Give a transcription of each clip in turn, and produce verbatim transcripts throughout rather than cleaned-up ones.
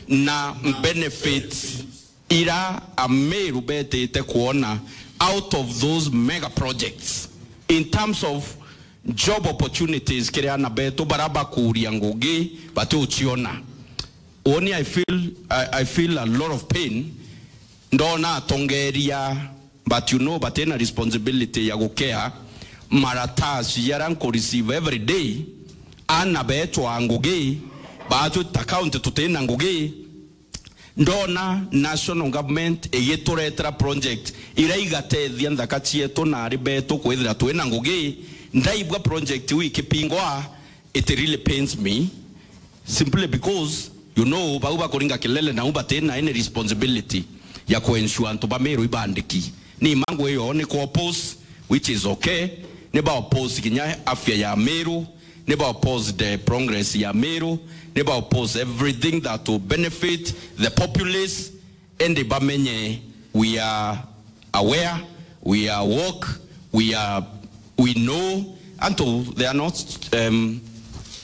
na benefits ira Ameru betite kuona out of those mega projects in terms of job opportunities kiri ana betu bara bakuria ngugi batiuciona. Woni, I feel, I, I feel a lot of pain ndona atongeria, but you know, batina responsibility ya gukea maratasi yara nku receive every day. Ana betwa ngugi, batwita county tutina ngugi. Ndona national government igituretera project ira igatethia nthaka cietu na ari betu kwithira twina ngugi, ndaigua project iu ikipingwa, it really pains me, simply because, you know, bau bakuringa kelele nau batina any responsibility ya ku ensure antu ba Meru ibandiki. Ni mangu iyo ni ku oppose, which is okay. Ni ba oppose kinya afya ya Meru, ni ba oppose the progress ya Meru, ni ba oppose everything that will benefit the populace. Indi bamenye we are aware, we are woke, we are, we know. Antu, they are not, um,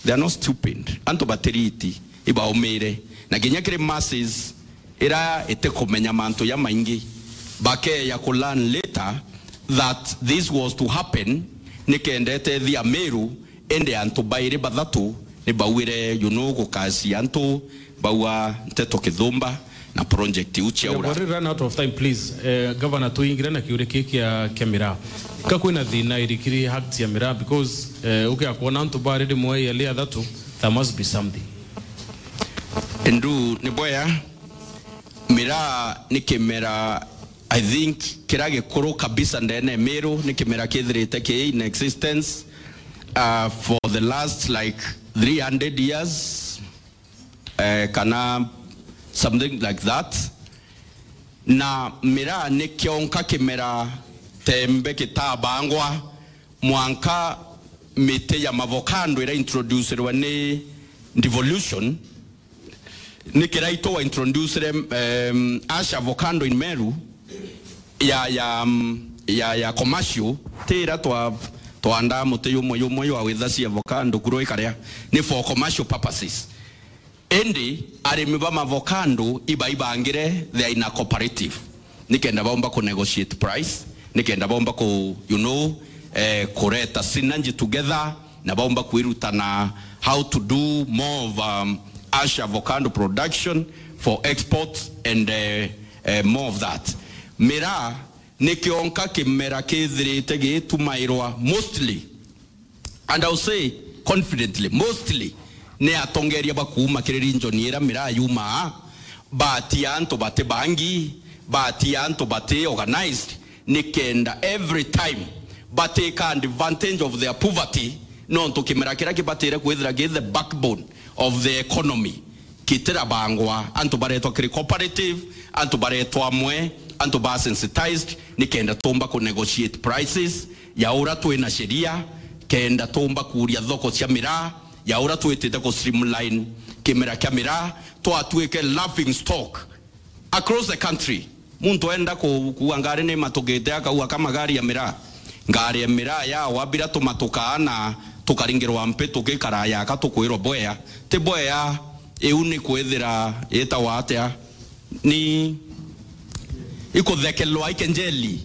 they are not stupid. Antu batiriti, ibaumire. Na kinya kiri masses ira itikumenya mantu ya maingi, bakeya ku learn later that this was to happen, nikenda itethia Meru. Indi antu bairi bathatu ni bauire, you know, gukacia antu, baua nteto kithumba na project iu ciaura. We have already run out of time, please. Eh, Governor, tuingire na kiuri kii kia, kia miraa. Ka kwina thina irikiri act ya miraa, because, eh, ukia kuona antu bari rimwe yali athatu, there must be something. Ndu ni bwea, miraa ni kimera, I think, kira gikuru kabisa ndene Meru, ni kimera kithirite ki in existence, uh, for the last, like, three hundred years, eh, kana something like that. Na miraa ni kionka kimera tembe kitabangwa mwanka miti ya mavokando ira introducirwe ni devolution. Ni kiraito wa introducere, um, ash avocado in Meru ya, ya, um, ya, ya commercial, ti ira twa, twandaa muti yumwe yumwe ywa witha cia avocado kuro ikaria, ni for commercial purposes. Indi arimi ba mavocado ibaibangire, they are in a cooperative, nikenda baumba ku negotiate price, nikenda baumba ku, you know, eh, kureta synergy together, na baumba kwirutana how to do more of, um, ash avocado production for export and, eh, eh, more of that. Miraa ni kionka kimera kithirite gitumairwa mostly, and I'll say confidently, mostly ni atongeria ba kuuma kiri region ira miraa yumaa, batia antu bati bangi, batia antu bati organized, nikenda every time bateka advantage of their poverty, nontu kimera kiria kibatire kwithira ki the backbone of the economy kitirabangwa, antu baretwa kiri cooperative, antu baretwa amwe, antu ba sensitized, nikenda tumba ku negotiate prices ya ura twina sheria, kenda tumba kuria thoko cia miraa, ya ura twitite ku streamline kimera kia miraa, twatuike laughing stock across the country. Muntu enda ku-, kuua ngari ni matukite, akaua ka magari ya miraa. Ngari ya miraa yawa bira tumatukaa na tukaringirwa mpi tukikara yaka tukwirwa bwea. Ti bwea, iu ni kwithira itawa atia? Ni ikuthekelwa ikenjeli.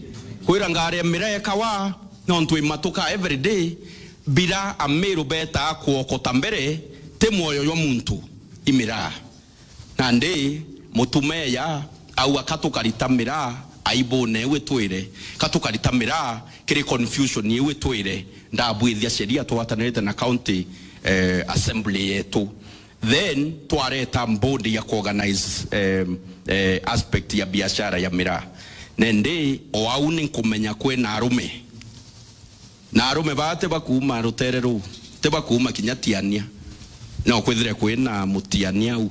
Kwira ngari ya miraa ikawa, nontu imatuka every day, bira Amiru betaa kuokota mbere, ti mwoyo jwa muntu, i miraa. Nandi mutumeya aua, ka tukarita miraa aibune iu itwire, ka tukarita miraa kiri confusion iu itwire, ndabwithia sheria twatanirite na county, eh, assembly yetu. Then twareta board ya kuorganize, eh, eh, aspect ya biashara ya miraa. Nandi o au ni nkumenya kwina arume Na arume baa ti bakuuma rutere ruu, ti bakuuma kinya Tiania. No kwithire kwina mutiania au,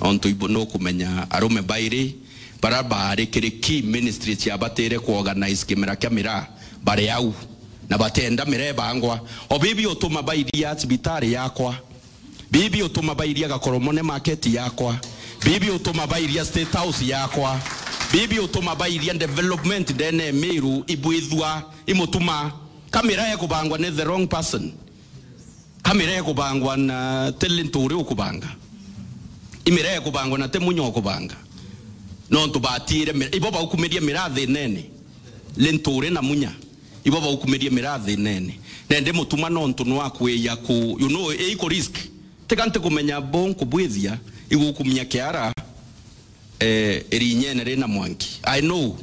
ontu ibu nukumenya arume bairi bara baari kiri key ministry ciabatire kuorganize kimera kia miraa bari au, na batenda miraa ibangwa. O bibi utuma bairia cibitari yakwa, bibi utuma bairia Gakoromone market yakwa, bibi utuma bairia State House yakwa, bibi utuma bairia development ndene Miru ibwithua imutuma. Kamera ekubangwa ni the wrong person. Kamera ekubangwa na talent uri ukubanga. Imira ikubangwa na ti Munya ukubanga. Nontu batiire mi-, ibo baukumirie miraa thinene. Linturi na Munya. Ibo baukumirie miraa thinene. Nende Mutuma nontu nwakwija ku, you know, iku risk. Tiga ntikumenya bo nkubwithia, igukumia kiara, eh, irinyene rina mwanki. I know.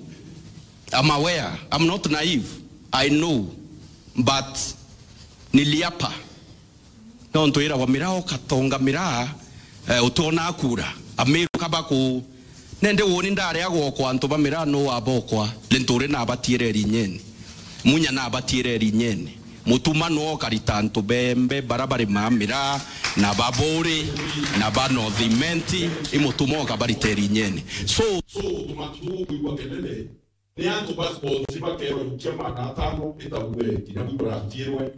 I'm aware. I'm not naive. I know. But niliapa. Nontu iragwa miraa ukatonga miraa, eh, utionaa kura. Amiru kaba ku, nende woni ndareagwa kwa antu ba miraa no wabokwa, Linturi nabatiire irinyene. Munya nabatiire irinyene. Mutuma no ukarita antu bembe bara bari ma miraa, na ba Buuri, na ba North Imenti, i Mutuma ukabarita irinyene. So, so, tumatu kwigua kenene, ni antu ba sports bakerwa ikia magana atano itague kinya bwi buratiirwe,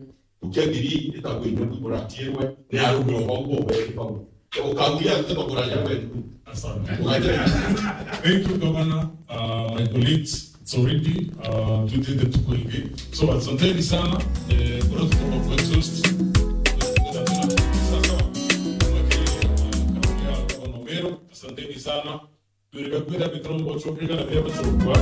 ikia ngiri itague kinya bwi buratiirwe, ni arume o bau bo beri bau. Ukaguria nte baguraria wetu. Asante. Ugaitira. Thank you, Governor. Uh, my colleagues, it's already, uh, twitite tuko ingi. So, asanteni sana. Eh, kura tutoka ku exhaust. Sasa, uh, kauli ya Governor Meru, asanteni sana. Twirika kwira bitrombo chokeka na bia bachokwa.